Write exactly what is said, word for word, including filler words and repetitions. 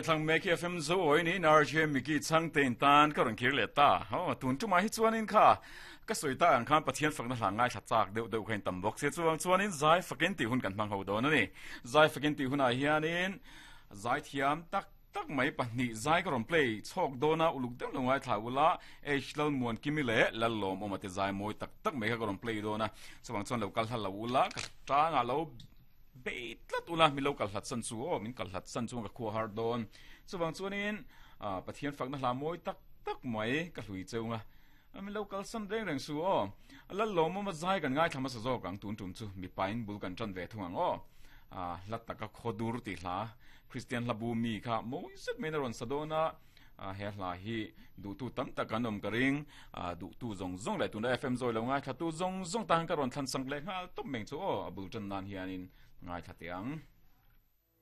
Thlang mek hi F M zo oi ni R J Miki Chhangte in tan ka rawn kir leh ta. Ho tun tumah hi chuanin kha ka sawi ta ang khan Pathian fakna hla ngai thla chak deuh deuh kha in tam bawk sia chuang chuanin zai fakin tih hun kan hmang ho dawn a ni. Zai fakin tih hunah hianin zai thiam tak tak mai pahnih zai ka rawn play chhawk dawn a uluk deuh lo ngai thla ula H Lalmuan Kimi leh Lallawm awm ate zai mawi tak tak mai kha ka rawn play dawn a chuang chuan lo kal hla lo ula ka tangah lo bei tlat ula mi lo kal hlat san chu aw min kal hlat san chu ka khua har dawn chuwang chuanin Pathian fakna hla mawi tak tak mai ka hlui cheunga mi lo kal san reng reng su aw Lallawm awm a zai kan ngai thla hmasa zawk ang tun tum chu mipain bul kan tan ve thung ang aw hla taka khawdur ti hla Christian hlabu mi kha mawi zet mai na rawn sa dawn a he hla hi duhtu tam tak an awm ka ring duhtu zawng zawng leh tuna F M zawi lo ngai thla tu zawng zawng tan ka rawn thlan sang leh nghal tawp meng chu aw a bul tan nan hianin ngai thla te ang.